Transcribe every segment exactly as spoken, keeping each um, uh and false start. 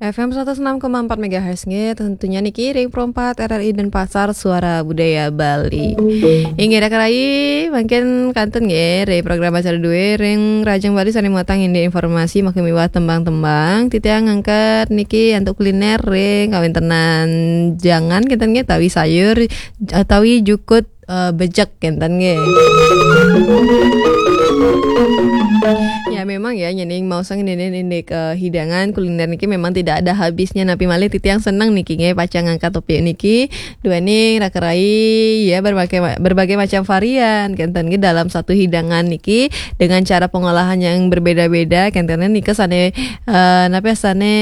F M seratus enam koma empat megahertz nggih, tentunya niki ring Pro empat R R I Denpasar, Suara Budaya Bali. Inggih, Raka Rai, mangkin kantun nggih, ring program acara due ring Rajang Bali sane muatang indik informasi makin miwah tembang-tembang. Titiang ngangkat niki antuk kuliner ring kawintenan jangan kinten nggih, tawi sayur, eh, tawi jukut, eh, bejek kinten nggih. Ya, memang ya, nyening mau sang nyening indik, eh, hidangan kuliner niki memang tidak ada habisnya. Napi malih titiang seneng niki nggih, pacang ngangkat topik niki. Duaning Raka Rai, ya, berbagai ma-, berbagai macam varian kinten nggih dalam satu hidangan niki dengan cara pengolahan yang berbeda-beda. Kinten nika sane, eh, napi sane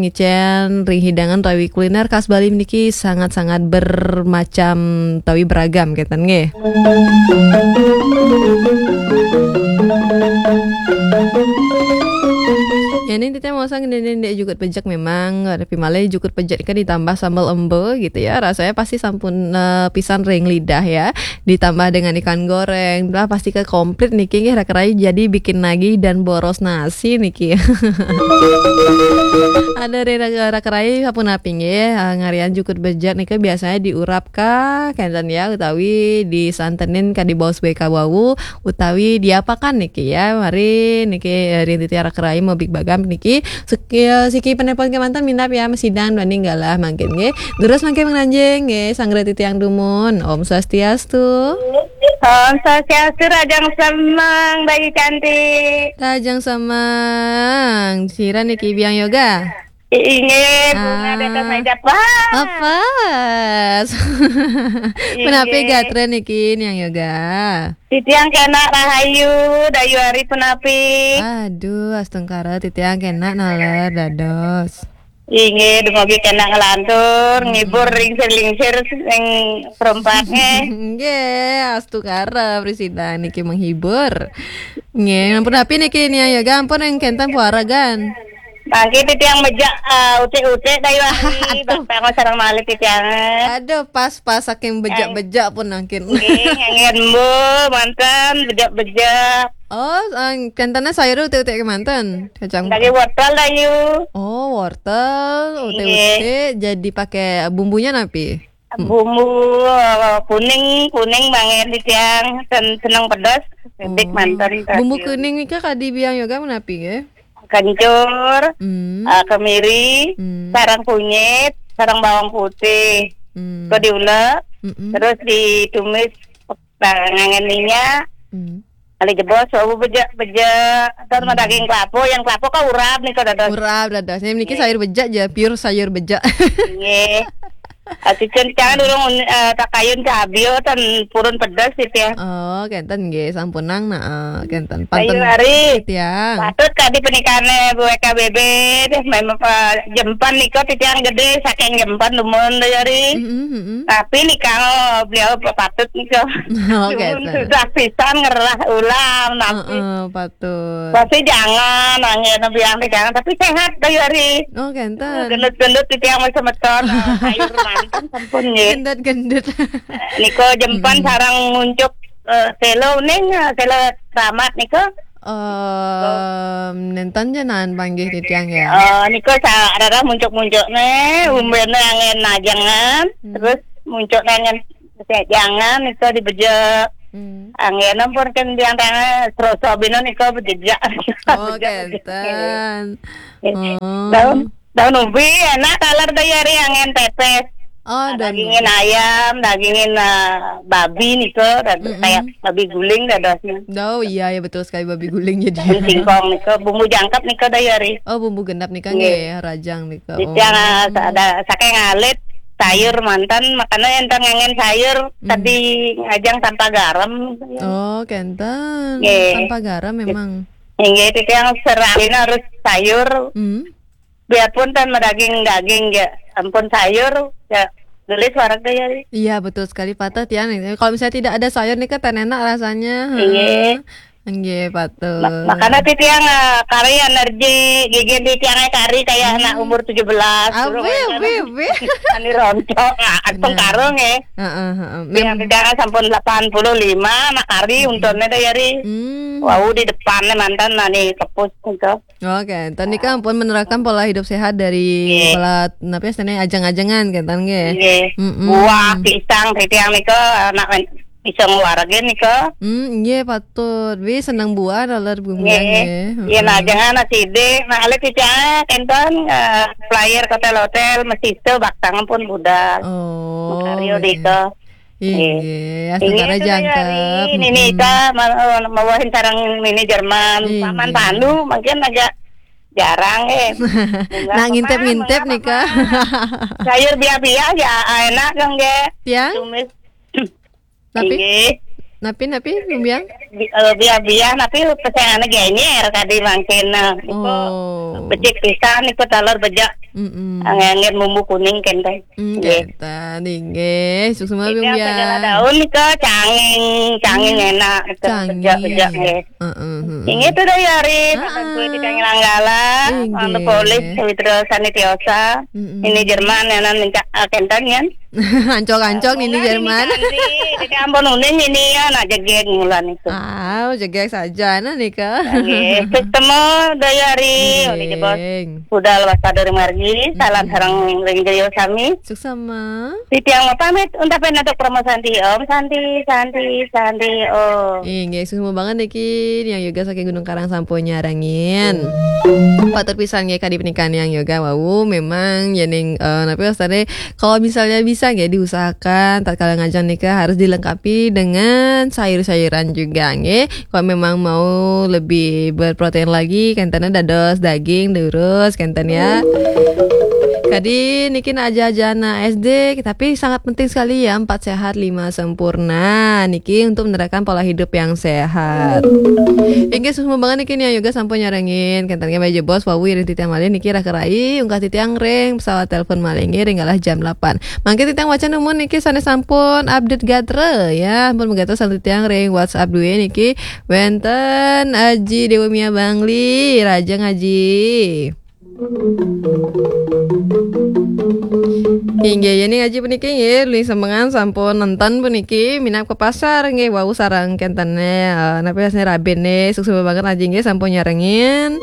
ngicen ring hidangan tawi kuliner khas Bali niki sangat-sangat bermacam tawi beragam kinten nggih. Ya, ini titiang mau sang ndeq jukut pejek memang, tapi malih jukut pejek kan ditambah sambal embe gitu ya. Rasanya pasti sampun, eh, pisan ring lidah ya. Ditambah dengan ikan goreng, lah pasti ke komplit niki nggih, Raka Rai jadi bikin nagih dan boros nasi niki. Ada ring Raka Rai sapunapi nggih, eh, ngarian jukut bejek nika biasanya diurap ka kenten ya, utawi disantenin ka dibaos beka wau, utawi diapakan niki ya. Mari niki, eh, ring titiang Raka Rai mebik bagam niki. Siki, eh, siki penelpon kemanten minab ya, masidang duaning galah mangkin nggih. Terus mangkin menganjing nggih, sanggra titiang dumun. Om Swastiastu. Om Swastiastu, Rajang Semang, Bayu Cantik. Rajang Semang, sira niki Biang Yoga? Inggih, bunga di atas meja. Wah. Apa? Punapi gatra niki, Niang Yoga? Titiang kena rahayu, Dayu Ari punapi? Aduh, astungkara titiang kena naler dados. Inggih, dumugi kena nglantur, ngibur lingsir-lingsir ing perempatne. Nggih, astungkara prasida niki menghibur. Nggih, ampun api niki Niang Yoga, ampun ring kenten puaragan. Mangke titiang mejak, eh, utik-utik Dayu Ari, aduh. Bapak sareng malih titiang. Aduh, pas-pas saking bejak-bejak pun mangkin. Nggih, nganggen embul, manten, bejak-bejak. Oh, eh, kentene sayur utik-utik kemanten, kacang. Daging wortel, Dayu. Oh, wortel, utik-utik, jadi pakai bumbunya napi? Bumbu, eh, kuning, kuning mangke titiang, sen-, seneng pedes, sedik manten. Bumbu kuning nika kadi Biang Yoga menapi nggih? Kencur, eh, kemiri, sareng kunyit, sareng bawang putih. Kok diulek, terus ditumis, eh, nganggen minyak. Kali jebos, wau bejek-bejek, terus daging kelapa, yang kelapa kan urap nika dados. Urap dados. Niki sayur bejek ya, pure sayur bejek. Nggih. Ati cen jangan durung, eh, takayun cabe ten purun pedes gitu ya. Oh, kenten nggih, sampunang nah, eh, kenten. Ayu panten Ari. Titiang. Patut kadi penikane Bu W K B B deh, memang Pak Jempan nika titiang gede saking Jempan dumun Dayu Ari. Mm-mm, mm-mm. Tapi nika, oh, beliau patut nika. Oh, dumun kenten. Susah pisan ngerah ulam napi. Heeh, patut. Pasti jangan, angin biang jangan, tapi sehat Dayu Ari. Oh, kenten. Gendut-gendut titiang masih semeton, eh, sayur manten sampun nggih. Gendut-gendut. Nika Jempan sareng muncuk, eh, selo ning, eh, selo Ramat nika. Em, nenten jenengan panggih titiang ya. Eh, nika sa-, rarah muncuk-muncukne, umbene angin najengan, terus muncukne angin jangan nika dibejek. Angin ampun kan biang tangan, seroso bina nika bejejak. Oh, bejek-bejek. Kenten. Oh. Daun, daun ubi enak taler Dayu Ari angin pepes. Oh, daun dagingin ubi. Ayam, dagingin, eh, babi nika, rada kayak babi guling dadosnya. Oh, iya, ya betul sekali, babi guling jadi. Daun singkong nika, bumbu jangkep nika Dayu Ari. Oh, bumbu genep nika nggih, rajang nika. Titiang, eh, ada saking alit, sayur manten, makanya enten nganggen sayur, tadi ngajeng tanpa garam. Oh, kenten. Nggih. Tanpa garam memang. Inggih, titiang serahina harus sayur. Biarpun tan madaging-daging ya, ampun sayur ya, gelis wareg ya. Iya, betul sekali, patah tiang. Kalau misalnya tidak ada sayur nih kan tan enak rasanya. Iya. Heeh. Nggih, patut. Ma-, makanya titiang, eh, kari energi, gigi titiang kari kayak anak umur tujuh belas. Durung wih, wih, wih. Ani rontok, ah, anteng karung, eh. Heeh, heeh. Yang titiang sampun delapan puluh lima, anak kari untune deh, yari. Hmm. Wau di depannya mantan nani kepus gitu. Oke, tadi kan pun menerapkan pola hidup sehat dari pola, apa ya, istilahnya ajang-ajangan, kan, nggih? Nggih. Mm-mm. Buah, pisang, titiang nika, anak men-, pisang warga nika. Hmm, nggih, patut. Wi seneng buah, dolar bumi, nggih. Nggih. Iya, nah, jangan nasi dek, nah, alek titiang, enten, eh, flyer hotel-hotel, mesisto, baktang pun budal. Oh, makario nggih. Nika. Inggih, astungkara jangkep. Nini Ika ma-, eh, mawahin sareng Nini Jerman. Inggih. Paman Pandu mungkin agak jarang, eh. Nah, ngintip-ngintip nika. Sayur biah-biah ya, enak dong, nggih. Tiang? Tumis. Napi? Inggih. Napi, napi, Lumbiang? Bi-, eh, biah-biah, tapi pesengannya genyer tadi mangkin, nah. Iku becik pisan, iku telur bejak. Mm-mm. Angin-angin bumbu kuning, kenten. Hmm, nggih. Kenten, inggih. Sukses, Lumbiang. Segala daun nika canging, canging enak nika. Canging. Bejak-bejak, nggih. Heeh, heeh. Inggih tuh deh, Yari, pakan kue di Canging Langgala, nggih. Anu polis, Sawitra Sanitiosa. Mm-mm. Ini Jerman, ya, nan minta, eh, kenten, ya. Ancok-ancok Nini Jerman. Jadi ampun uning ini ya, nak jegeg mulan itu. Ah, jegeg saja, nah, nika. Nggih, ketemu daya hari, nggih. Udah jebos. Budal wasta dari margi, salam sareng ring griya sami. Suksma. Titiang mau pamit, untapen untuk promo Santi Om, Santi, Santi, Santi Om. Inggih, suksma banget niki, Niang Yoga saking Gunung Karang sampun nyarengin. Patut pisan nggih kadi pernikahan Niang Yoga, wau memang yening, eh, napi wastane, kalau misalnya bisa nggih diusahakan tatkala ngajeng nika harus dilengkapi dengan sayur-sayuran juga nggih. Kalau memang mau lebih berprotein lagi, kenten dados daging, lurus, kenten ya. Kadi niki nak aja-aja anak S D, tapi sangat penting sekali ya, empat sehat, lima sempurna. Niki untuk menerapkan pola hidup yang sehat. Inggih, suksma banget niki Niang Yoga sampun nyarengin. Kenten nggih, meja bos, wawu iring titiang malih niki raka rai, ungkah titiang ring pesawat telepon malih nggih ring galah jam delapan. Mangke titiang wacan numun niki sane sampun update gatra ya. Ampun megatos sampun titiang ring WhatsApp duwe niki wenten Aji Dewa Mia Bangli, rahajeng Aji. Inggih, yening Aji puniki nggih, Luli Semengan sampun nenten puniki, minab ka pasar nggih, wau sareng kentene, eh, napi asline rabene, suksma banget Aji nggih sampun nyarengin.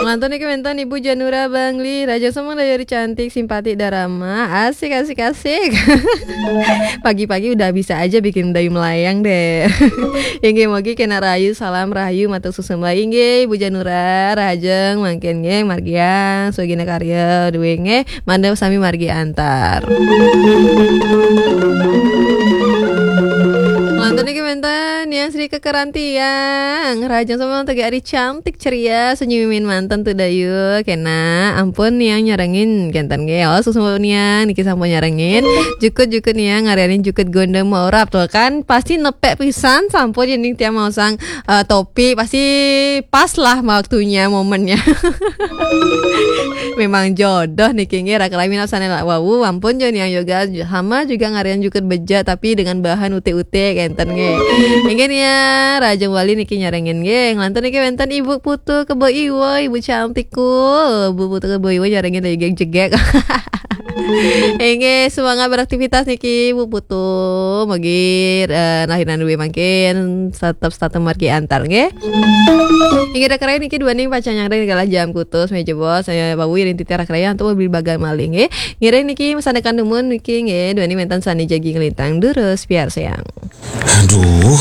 Nglantur niki wenten Ibu Janura Bangli, rahajeng semeng daya ri cantik, simpati, darama, asik, asik, asik. Pagi-pagi udah bisa aja bikin mendayu melayang deh. Inggih, mugi kena rahayu, salam rahayu, matur suksma. Inggih, Ibu Janura, rahajeng mangkin nggih, margiang, sugihna karya, duwe nggih, mangda sami margi antar. Nglantur niki wenten Niang Sri Kekerantiang, rahajeng semeng tegi ari cantik, ceria, senyumin manten tuh dayu. Kena, ampun Niang nyarengin kenten nggih. Oh, suksma Niang niki sampun nyarengin. Jukut-jukut Niang ngarianin jukut gondang maurap tuh kan. Pasti nepek pisan sampun yening tiang maosang, eh, topi. Pasti pas lah waktunya, momennya. Memang jodoh niki nggih, raka rai minab sane wau, ampun jo Niang Yoga hama juga ngarian jukut beja tapi dengan bahan utik-utik kenten nggih. Inggih Niang, rahajeng wali niki nyarengin nggih. Nglantur niki wenten Ibu Putu Kebo Iwo, Ibu cantikku. Ibu Putu Kebo Iwo nyarengin jegeg-jegeg. Inggih, semangat beraktivitas niki, Bu Putu. Mugi, eh, rahinan duwe mangkin tetep setata margi antar nggih. Inggih, raka rai niki duaning pacang nyarengin galah jam kutus, meja bos, saya bawu iring titiang raka rai antuk beli bagan malih nggih. Ngiring niki masandekan dumun niki nggih, duaning wenten sane jagi nglintang durus, piarsayang. Aduh,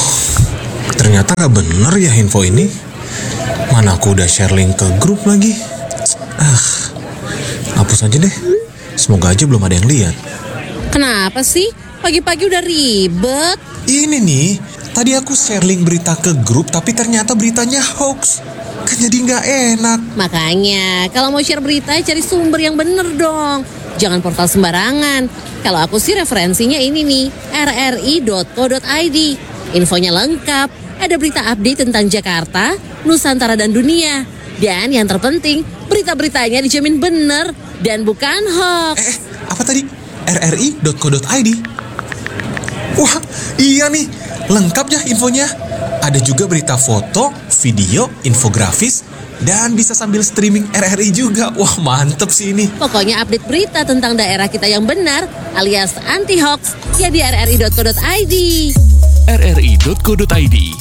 ternyata nggak bener ya info ini. Mana aku udah share link ke grup lagi. Ah, hapus aja deh. Semoga aja belum ada yang lihat. Kenapa sih? Pagi-pagi udah ribet. Ini nih, tadi aku share link berita ke grup, tapi ternyata beritanya hoax. Kan jadi nggak enak. Makanya, kalau mau share berita, cari sumber yang bener dong. Jangan portal sembarangan. Kalau aku sih referensinya ini nih, R R I dot co dot I D. Infonya lengkap, ada berita update tentang Jakarta, Nusantara dan dunia. Dan yang terpenting, berita-beritanya dijamin bener dan bukan hoax. Eh, eh, apa tadi? R R I dot co dot I D. Wah, iya nih, lengkap ya infonya. Ada juga berita foto, video, infografis, dan bisa sambil streaming R R I juga. Wah, mantep sih ini. Pokoknya update berita tentang daerah kita yang benar alias anti hoax ya di R R I dot co dot I D. R R I dot co dot I D.